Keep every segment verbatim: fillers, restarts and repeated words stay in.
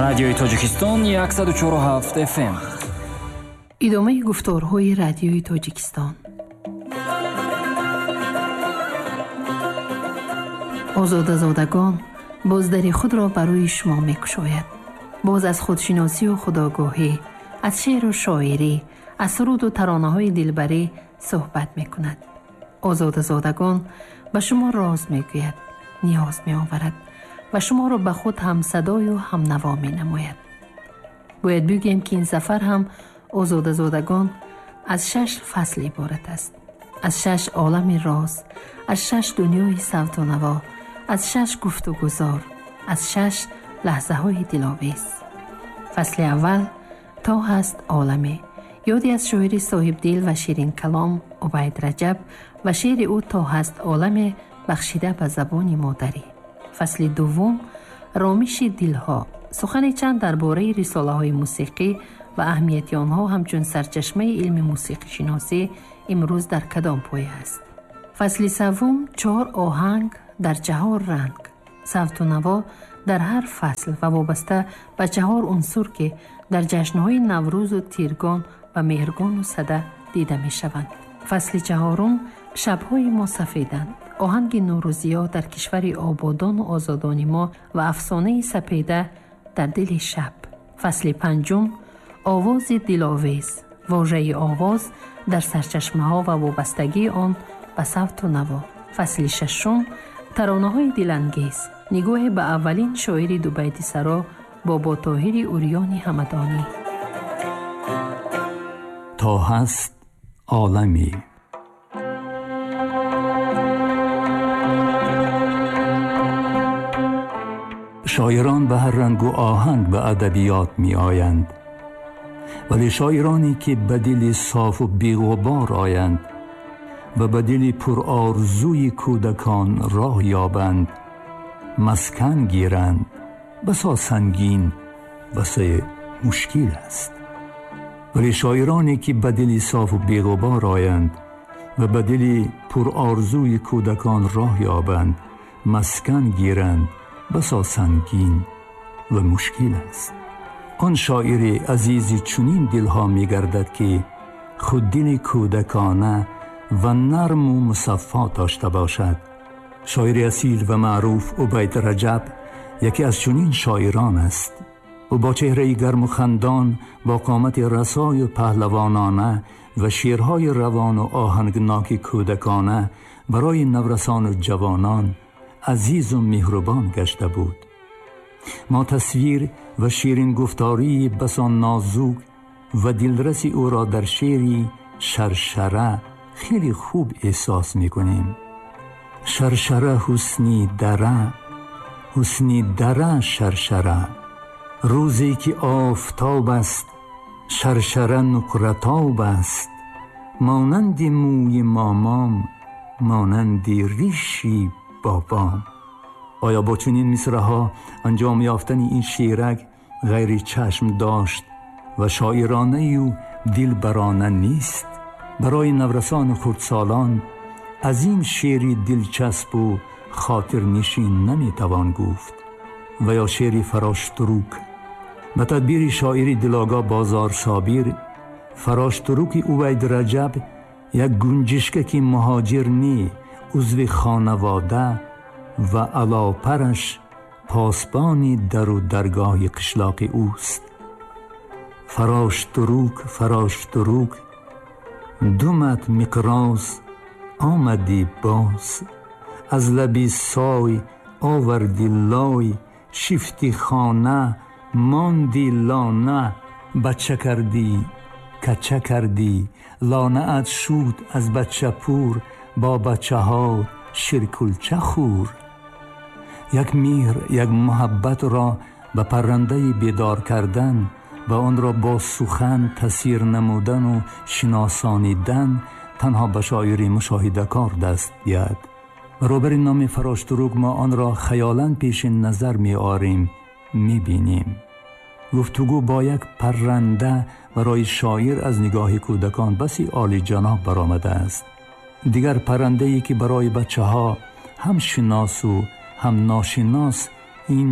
Радиои Тоҷикистон яксаду чору ҳафт эф эм. Идомаи гуфторҳои Радиои Тоҷикистон. Озодазодагон боз дари худро барои шумо мекушояд. Боз аз худшиносию худогоҳӣ, аз шеъру шоирӣ, аз суруду таронаҳои дилбарӣ суҳбат мекунад. Озодазодагон ба шумо роз мегӯяд, ниёз меоварад ва шуморо ба худ ҳамсадою ҳамнаво менамояд. Бояд бигӯем, ки ин сафар ҳам Озодазодагон аз шаш фасл иборат аст. Аз шаш олами роз, аз шаш дунёи савту наво, аз шаш гуфтугузор, аз шаш лаҳзаҳои диловез. Фасли аввал то ҳаст оламе, ёде аз шоири соҳибдил ва ширинкалом Убайд Раҷаб ва шеъри ӯ то ҳаст оламе бахшида ба забони модарӣ. Фасли дуввум ромиши дилҳо, сухани чанд дар бораи рисолаҳои мусиқӣ ва аҳамияти онҳо ҳамчун сарчашмаи илми мусиқишиносӣ имрӯз дар кадом поя аст. Фасли севум чор оҳанг дар чаҳор ранг, савту наво дар ҳар фасл ва вобаста ба чаҳор унсур, ки дар ҷашнҳои Наврӯзу Тиргон ва Меҳргону Сада дида мешаванд. Фасли чаҳорум шабҳои мо сафеданд, оҳанги нурӯзиё дар кишвари ободону озодони мо ва афсонаи сапеда дар дили шаб. Фасли панҷум овози диловез, вожаи овоз дар сарчашмаҳо ва вобастагии он ба савту наво. Фасли шашум таронаҳои дилангез, нигоҳе ба аввалин шоири дубайтисаро Боботоҳири Урёни Ҳамадонӣ. То ҳаст оламе. Шоирон ба ҳар рангу оҳанг ба адабиёт меоянд, вале шоироне ки ба дили софу беғубор оянд ва ба дили пурорзуи кӯдакон роҳ ёбанд, маскан гиранд, басо сангин, басо мушкил аст. Вале шоироне ки ба дили софу беғубор оянд ва ба дили пурорзуи кӯдакон роҳ ёбанд, маскан гиранд, басо сангин ва мушкил аст. Он шоири азизи чунин дилҳо мегардад, ки худ дили кӯдакона ва нарму мусаффо дошта бошад. Шоири асил ва маъруф Убайд Раҷаб яке аз чунин шоирон аст. Ӯ бо чеҳраи гарму хандон, бо қомати расою паҳлавонона ва шеърҳои равону оҳангноки кӯдакона барои наврасону ҷавонон азизу меҳрубон гашта буд. Мо тасвир ва ширингуфтории басо нозук ва дилраси ӯро дар шеъри шаршара хеле хуб эҳсос мекунем. Шаршара ҳусни дара, ҳусни дара шаршара, рӯзе ки офтоб аст шаршара нуқратоб аст, монанди мӯи момом, монанди риши бобом. Оё бо чунин мисраҳо анҷом ёфтани ин шеърак ғайри чашм дошт ва шоиронаю дилбарона нест? Барои наврасону хурдсолон аз ин шеъри дилчаспу хотирнишин наметавон гуфт. Ва ё шеъри Фароштурук. Ба тадбири шоири дилогоҳ Бозор Собир, Фароштуруки Убайд Раҷаб як гунҷишкаки муҳоҷир не, узви хонавода ва алопараш посбони дару даргоҳи қишлоқи ӯст. Фароштурук, Фароштурук, думат миқроз омадӣ боз, аз лаби сой оварди лой, шифти хона монди лона, бача кардӣ кача кардӣ, лонаат шуд аз бачапур, бо бачаҳо ширкулча хӯр. Як меҳр, як муҳаббатро ба паррандаи бедор кардан ва онро бо сухан тасвир намудану шиносонидан танҳо ба шоири мушоҳидакор даст диҳад. Баробари номи Фароштурук мо онро хаёлан пеши назар меорем, мебинем. Гуфтугӯ бо як парранда барои шоир аз нигоҳи кӯдакон баси олиҷаноб баромадааст. Дигар паррандае ки барои бачаҳо ҳам шиносу ҳам ношинос, ин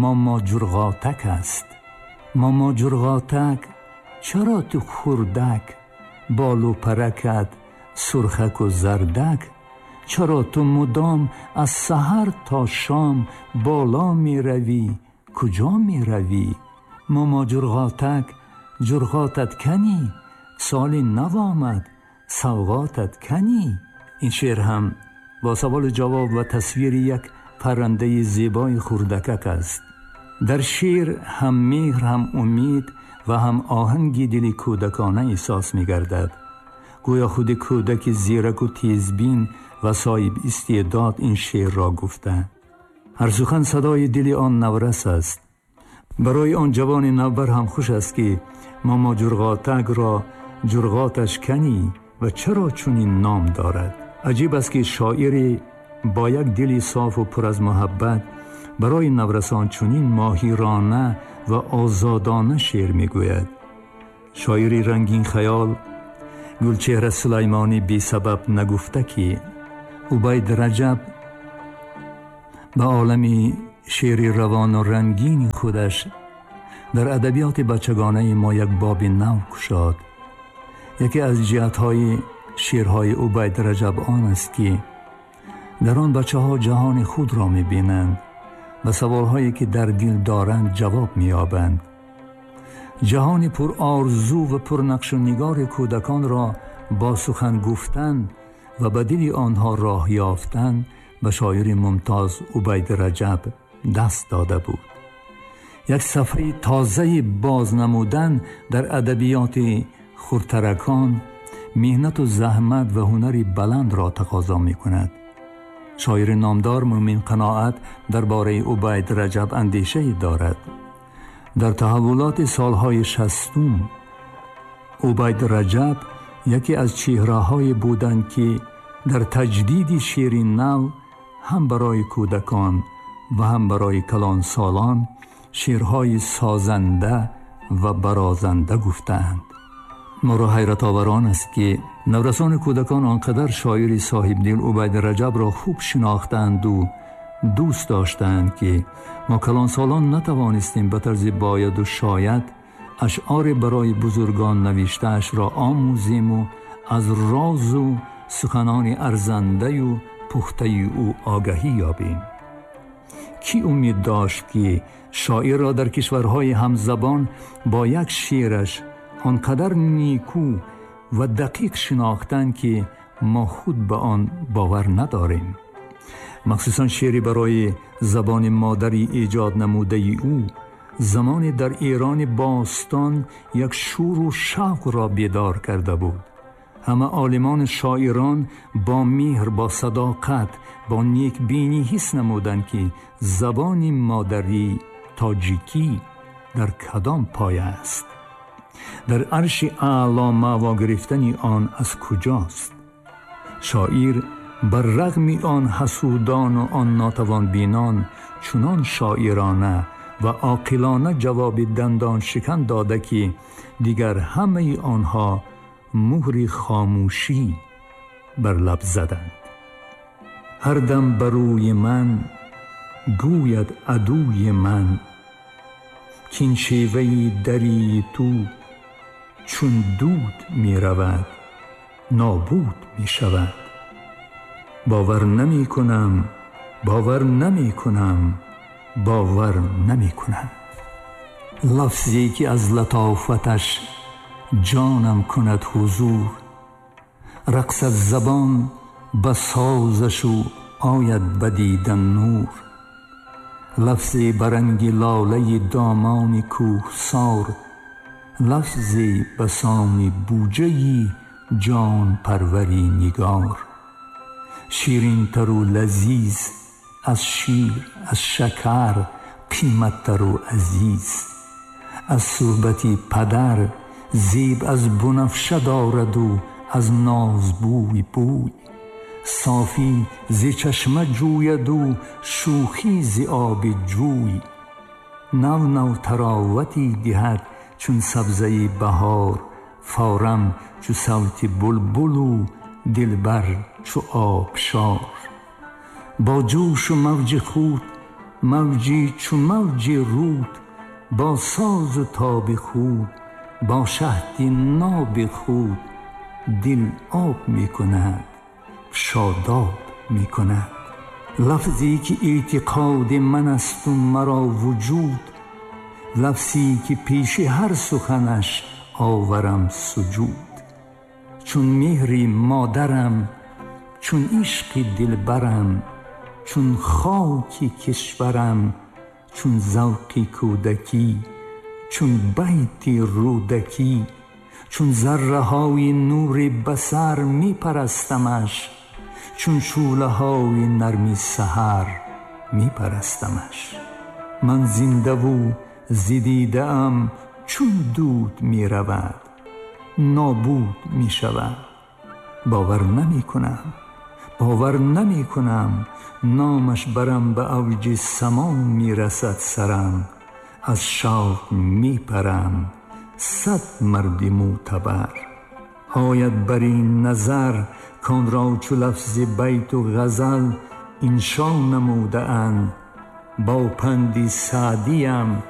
Мама Ҷурғотак аст. Мама Ҷурғотак, чаро ту хурдак, болу паракат сурхаку зардак? Чаро ту мудом аз саҳар то шом боло меравӣ, куҷо меравӣ? Мама Ҷурғотак, ҷурғотат кани? Соли нав омад, савғотат кани? Ин шеър ҳам бо саволу ҷавоб ва тасвири як паррандаи зебои хурдакак аст. Дар шеър ҳам меҳр, ҳам умед ва ҳам оҳанги дили кӯдакона эҳсос мегардад. Гӯё худи кӯдаки зираку тезбин ва соҳиб истеъдод ин шеърро гуфта. Ҳар сухан садои дили он наврас аст. Барои он ҷавони навбар ҳам хуш аст, ки Мама Ҷурғотакро ҷурғоташ кани ва чаро чунин ном дорад. Аҷиб аст, ки шоире бо як дили софу пур аз муҳаббат барои наврасон чунин моҳирона ва озодона шеър мегӯяд. Шоири рангин хаёл Гулчеҳра Сулаймонӣ бесабаб нагуфта, ки Убайд Раҷаб ба олами шеъри равону рангини худаш дар адабиёти бачагонаи мо як боби нав кушод. Яке аз ҷиҳатҳои шеърҳои Убайд Раҷаб он аст, ки дар он бачаҳо ҷаҳони худро мебинанд, ба саволҳое ки дар дил доранд ҷавоб меёбанд. Ҷаҳони пурорзу ва пурнақшу нигори кӯдаконро бо сухан гуфтан ва ба дили онҳо роҳ ёфтан ба шоири мумтоз Убайд Раҷаб даст дода буд. Як сафҳаи тозаи боз намудан дар адабиёти хурдтаракон меҳнату заҳмат ва ҳунари баландро тақозо мекунад. Шоири номдор Мӯмин Қаноат дар бораи Убайд Раҷаб андешае дорад. Дар таҳаввулоти солҳои шастум Убайд Раҷаб яке аз чеҳраҳое буданд, ки дар таҷдиди шеъри нав ҳам барои кӯдакон ва ҳам барои калонсолон шеърҳои созанда ва барозанда гуфтаанд. Моро ҳайратовар он аст, ки наврасони кӯдакон он қадар шоири соҳибдил Убайд Раҷабро хуб шинохтанду дӯст доштанд, ки мо калонсолон натавонистем ба тарзи бояду шояд ашъори барои бузургон навиштаашро омӯзему аз розу суханони арзандаю пухтаи ӯ огаҳӣ ёбем. Кӣ умед дошт, ки шоирро дар кишварҳои ҳамзабон бо як шеъраш он қадар никӯ ва дақиқ шинохтанд, ки мо худ ба он бовар надорем. Махсусан шеъри барои забони модарӣ эҷод намудаи ӯ замоне дар Эрони бостон як шӯру шавқро бедор карда буд. Ҳама олимони шоирон бо меҳр, бо садоқат, бо некбинӣ ҳис намуданд, ки забони модарӣ тоҷикӣ дар кадом поя аст, дар арши аъло маъво гирифтани он аз куҷост. Шоир бар рағми он ҳасудону он нотавонбинон чунон шоирона ва оқилона ҷавоби дандоншикан дода, ки дигар ҳамаи онҳо муҳри хомӯшӣ бар лаб заданд. Ҳар дам ба рӯи ман гӯяд адуи ман, кин шеваи дарии ту чун дуд меравад, нобуд мешавад. Бовар намекунам, бовар намекунам, бовар намекунам. Лафзе ки аз латофаташ ҷонам кунад ҳузур, рақсад забон ба созашу ояд ба дидан нур. Лафзе ба ранги лолаи домони кӯҳсор, лафзе ба сони буҷаи ҷонпарвари нигор. Ширинтару лазиз аз шир, аз шакар қиматтару азиз, аз суҳбати падар зеб аз бунафша дораду аз нозбӯй бӯй. Софӣ зи чашма ҷӯяду шӯхӣ зи оби ҷӯй. Нав нав таровате диҳад чун сабзаи баҳор, форам чу савти булбулу дилбар чу обшор. Бо ҷӯшу мавҷи худ Мавҷи чу мавҷи руд, бо созу тоби худ, бо шаҳди ноби худ дил об мекунад, шодоб мекунад. Лафзе ки эътиқоди ман асту маро вуҷуд, лафзе ки пеши ҳар суханаш оварам суҷуд. Чун меҳри модарам, чун ишқи дилбарам, чун хоки кишварам, чун завқи кӯдакӣ, чун байти Рӯдакӣ, чун зарраҳои нури басар мепарастамаш, чун шӯълаҳои нарми саҳар мепарастамаш. Ман зиндаву зи дидаам чун дуд меравад, нобуд мешавад. Бовар намекунам, бовар намекунам, номаш барам ба авҷи само мерасад сарам, аз шавқ мепарам, сад марди мӯътабар ояд бар ин назар, к-он ро чу лафзи байту ғазал иншо намудаанд, бо панди Саъдиям.